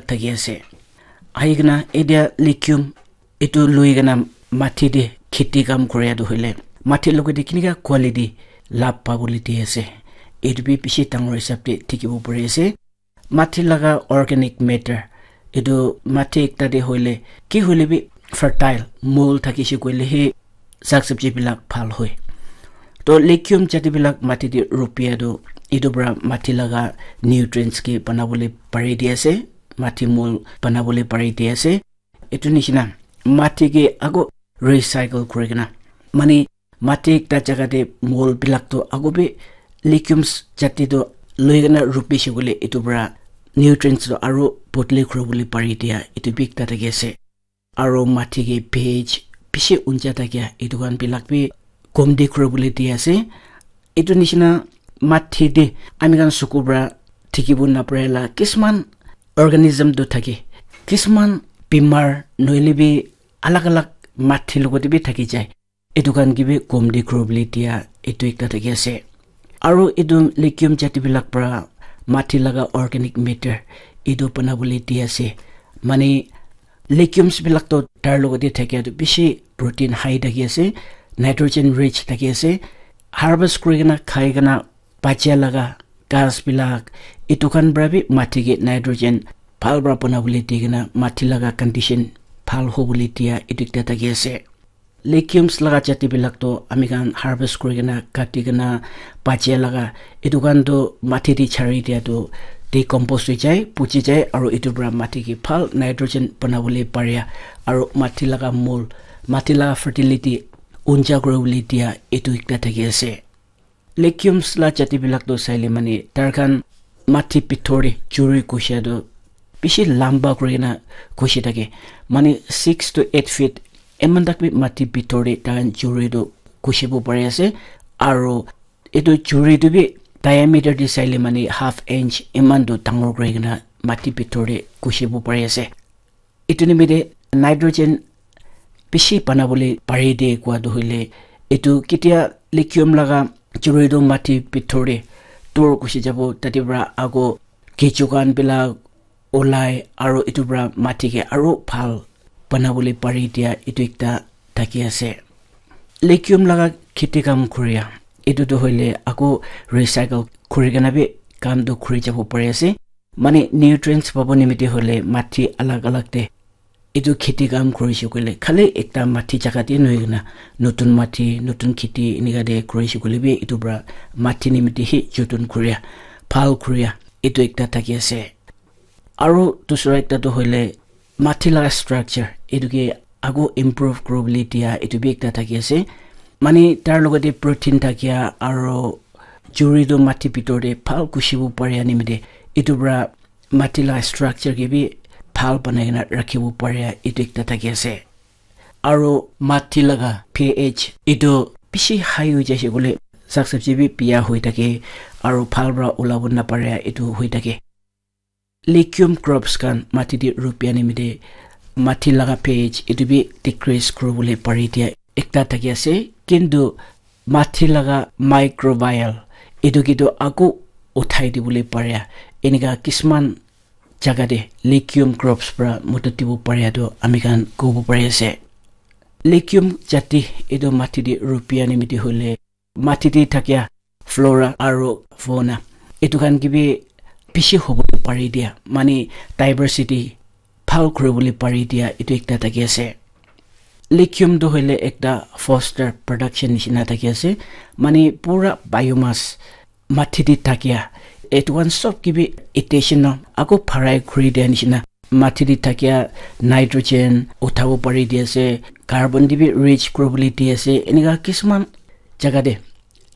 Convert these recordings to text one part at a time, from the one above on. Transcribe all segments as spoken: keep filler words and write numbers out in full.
thaki ase. Ahi kena etia legume etu lui kena mati te kheti kam kuri tu hoile mati logote kenika quality lab pabole di ase, etu bi bishi dangor hisab te dikhibo pari ase. Mati laga organic matter, etu mati ekta te hoile ki hoile bi fertile mold thakise koile he saag sabji bilak bhal hoi. To legume jati bilak mati te rupia tu etu para mati laga nutrients ke banabole pari di ase, mati mold banabole pari di ase. Etu nishina mati ke ako recycle kuri kena, mane mati ekta jaga te mold bilak tu ako bi legumes jati tu loi kena rupise koile etu para nutrients tu aro bodli kuri bole pari dia etu bi ekta thaki ase. Aro mati ke pH bishi unja thakia etu khan bilak bi komti kuri bole di ase. Etu nishina mati te ami khan suku para dikhibo napare la kisman organism tu thake, kisman bimar nohoile bi alag alag mati logote bi thaki jai. Etu khan ke bi komti kuri bole dia etu ekta thaki ase. Aro etu legume jati bilak para mati laga organic matter etu banabole di ase. Mane legumes bilak to tar logote thakia tu bishi protein high thaki ase, nitrogen rich thaki ase. Harvest kuri kena khai kena bachia laga ghas bilak etu khan para bi mati ke nitrogen bhal para banabole di kena mati laga condition bhal hobole dia etu ekta thaki ase. Legumes laga jati bilak to ami khan harvest kuri kena kati kena bachia laga etu khan to mati te chari dia to decompose hoi jai, puchi jai, aro etu para mati ke bhal nitrogen banabole paria, aro mati laga mold, mati laga fertility unja kuri bole dia etu ekta thaki ase. Legumes la jati bilak to saile mane tar khan mati bithor te churi kusia to bishi lamba kuri kena kushi thake, mane six to eight feet eman tak bi mati bithor te tar khan churi to kushibo pari ase. Aro etu churi tu bi diameter te saile mane half inch eman tu dangor kuri kena mati bithor te kushibo pari ase. Etu nimite nitrogen bishi banabole pari de kua tu hoile etu ketia legume laga churi tu mati bithor te tor kushi jabo, tate para ako kechu khan bilak olai aro etu para mati ke aro bhal banabole pari dia etu ekta thaki ase. Legume laga kheti kam kuria etu tu hoile ako recycle kuri kena bi kam tu kuri jabo pari ase. Mane nutrients pabo nimite hoile mati alag alag te etu kheti kam kurise koile khali ekta mati jaga te nohoi kena notun mati, notun kheti enika te kurise koile bi etu para mati nimite hi joton kuria, bhal kuria etu ekta thaki ase. Aro dusra ekta tu hoile mati laga structure etu ke ago improve kuri bole dia etu bi ekta thaki ase. Mane tar logote protein thakia aro churi tu mati bithor te bhal kushibo paria nimite etu para mati laga structure ke bi bhal banai kena rakhibo paria etu ekta thaki ase. Aro mati laga pH etu bishi high hoi jaise koile saag sabji bi biya hoi thake aro bhal para olabo naparia etu hoi thake. Legume crops khan mati te rupia nimite mati laga pH etu bi decrease kuri bole pari dia ekta thaki ase, kintu mati laga microbial etu ke tu ako uthai dibole paria enika kisman jaga te legume crops para modot dibo paria tu ami khan kobo pari ase. Legume jati etu mati te rupia nimite hoile mati te thakia flora aro fauna etu khan ke bi bishi hobo pari dia, mane diversity bhal kuri bole pari dia etu ekta thaki ase. Legume tu hoile ekta foster production nishina thaki ase, mane pura biomass mati te thakia etu khan sob ke bi additional ako bharai kuri dia nishina mati te thakia nitrogen uthabo pari di ase, carbon te bi rich kuri bole di ase, enika kisman jaga te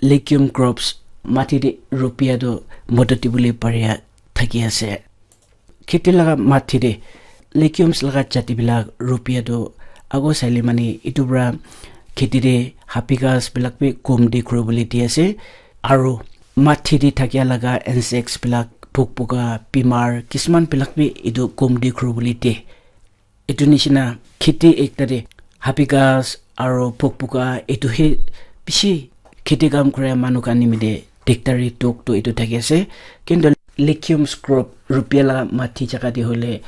legume crops mati te rupia tu modot dibole paria thaki ase. Kheti laga mati te legumes laga jati bilak rupia tu ago saile mane etu para kheti te hapi ghas bilak bi komti kuri bole di ase, aro mati te thakia laga insects bilak pok poka bimar kisman bilak bi etu komti kuri bole de. Etu nishina kheti ekta te hapi ghas aro pok poka etu he bishi kheti kam kura manu khan nimite dikdari tok tu etu thaki ase, kintu Legumes crop rupia la mati jaga te hoile